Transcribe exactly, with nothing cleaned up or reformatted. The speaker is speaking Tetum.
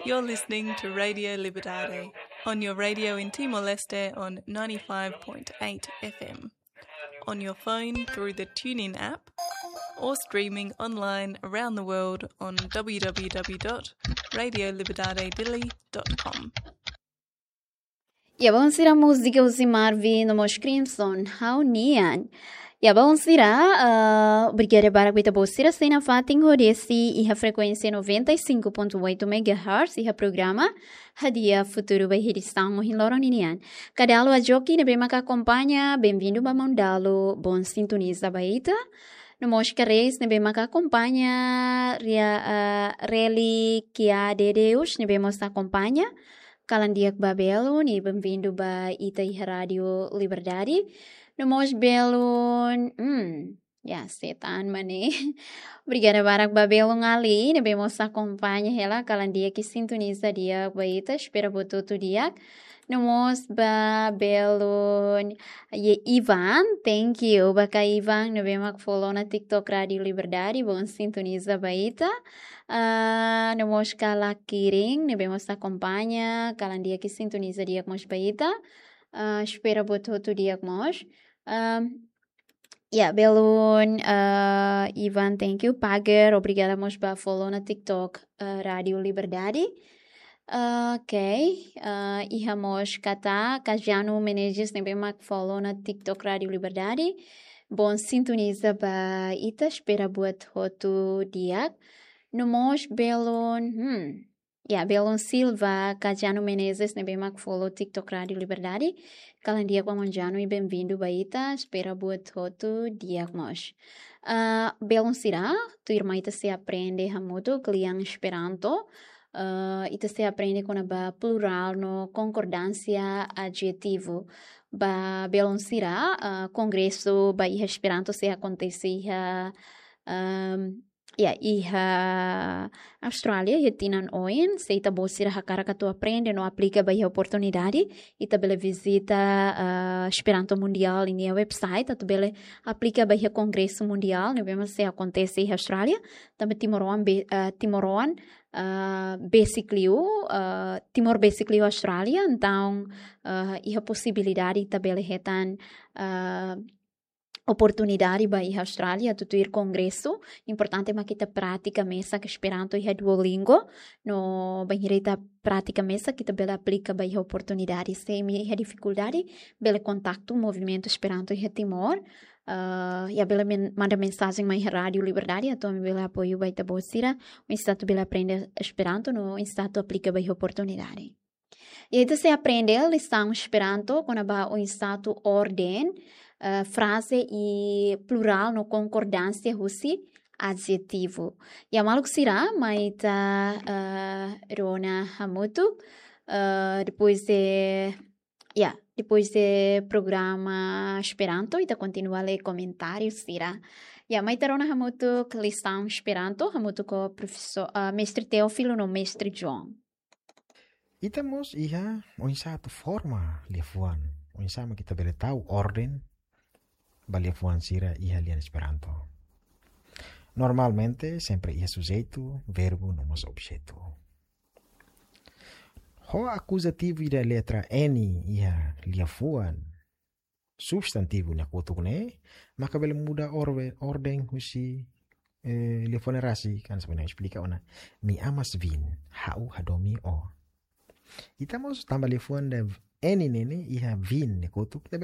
You're listening to Radio Liberdade on your radio in Timor-Leste on ninety-five point eight F M, on your phone through the TuneIn app, or streaming online around the world on w w w dot radio liberdade dili dot com. Ya, baun sira, múzika husi Marvin no mós Crimson, Ha'u-nian. Ya, baun sira, ah, obrigada barak ba ita-boot sira sei nafatin hodi asiste iha frekuénsia noventa e cinco ponto oito megahertz, iha programa Hadi'a Futuru ba edisaun ohin loron ninian. Ka dala rua joki ne'ebé maka akompaña, benvindu ba maun dala, bon sintoniza ba ita. No mós ka reis ne'ebé maka akompaña, ria, ah, Reli Kia Dedeus ne'ebé mós akompaña. Kalan di'ak ba belun, i benvindu ba ita iha Rádio Liberdade. No mós belun, hmm, ya, setan mane. Obrigada barak ba belun Ali ne'ebé mós akompaña hela, kalan di'ak i sintoniza di'ak ba ita, espera buat hotu di'ak. No mós ba belun, ye Ivan, thank you. Ba ka Ivan ne'ebé mak follow ona TikTok Rádio Liberdade, bon sintoniza ba ita. Ah, no mós ka Lakiring ne'ebé mós akompaña, kalan di'ak i sintoniza di'ak mós ba ita. Ah, espera buat hotu di'ak mós. Ah, ya, belun, ah, Ivan, thank you. Pager, obrigada mós ba follow ona TikTok, ah, Rádio Liberdade. Ah, ok, ah, iha mós Kata, Kajanu Menezes ne'ebé mak follow ona TikTok Rádio Liberdade. Bon sintoniza ba ita, espera buat hotu di'ak. No mós belun, hmm, ya, belun Silva, Kajanu Menezes ne'ebé mak follow TikTok Rádio Liberdade. Kalan di'ak ba maun Janu i benvindu ba ita, espera buat hotu di'ak mós. Ah, belun sira, tuirmai ita sei aprende hamutuk lian Esperanto. Ah, ita sei aprende kona-ba plurál no konkordánsia adjetivu. Ba belun sira, ah, kongresu ba iha Esperanto sei akontese iha, ehm, ya, iha Austrália, iha tinan oin, se ita-boot sira hakarak atu aprende no aplika ba iha oportunidade, ita bele vizita, ah, Esperanto Mundial ninia website, atu bele aplika ba iha Kongresu Mundial ne'ebé mak sei akontese iha Austrália, tanba timoroan be-, ah, timoroan, ah, besik liu, ah, Timor besik liu Austrália, entaun, ah, iha posibilidade ita bele hetan, ah, oportunidade ba iha Austrália atu tuir kongresu. Importante mak ita pratika mesak Esperanto iha Duolingo. No bainhira ita pratika mesak, ita bele aplika ba iha oportunidade. Se imi iha difikuldade, bele kontaktu Movimentu Esperanto iha Timor. Ah, ya, bele men-, manda mensajen mai iha Rádio Liberdade, atu ami bele apoiu ba ita-boot sira, oinsá atu bele aprende Esperanto, no oinsá atu aplika ba iha oportunidade. I ita sei aprende lisaun Esperanto kona-ba oinsá atu orden, eh, fraze i plurál no konkordánsia husi adjetivu. Ya, maluk sira, mai ita, eh, rona hamutuk, eh, depois de, ya, depois de programa Esperanto, ita kontinua lee komentáriu sira. Ya, mai ita rona hamutuk lisaun Esperanto, hamutuk ho profesór, eh, mestre Teófilo no mestre João. Ita mós iha oinsá atu forma liafuan, oinsá mak ita bele tau orden ba liafuan sira iha lian Esperanto. Normalmente, sempre iha sujeitu, verbu, no mós objetu. Ho akuzativu ida letra N iha liafuan substantivu nia kotuk ne'e, maka bele muda orwe-, orden husi, eh, liafuan ne'e rasik, kan sebenarnya esplika ona. Mi amas vin, ha'u hadomi ó. Ita mós tanba liafuan ida N ne'e iha vin nia kotuk, ita bele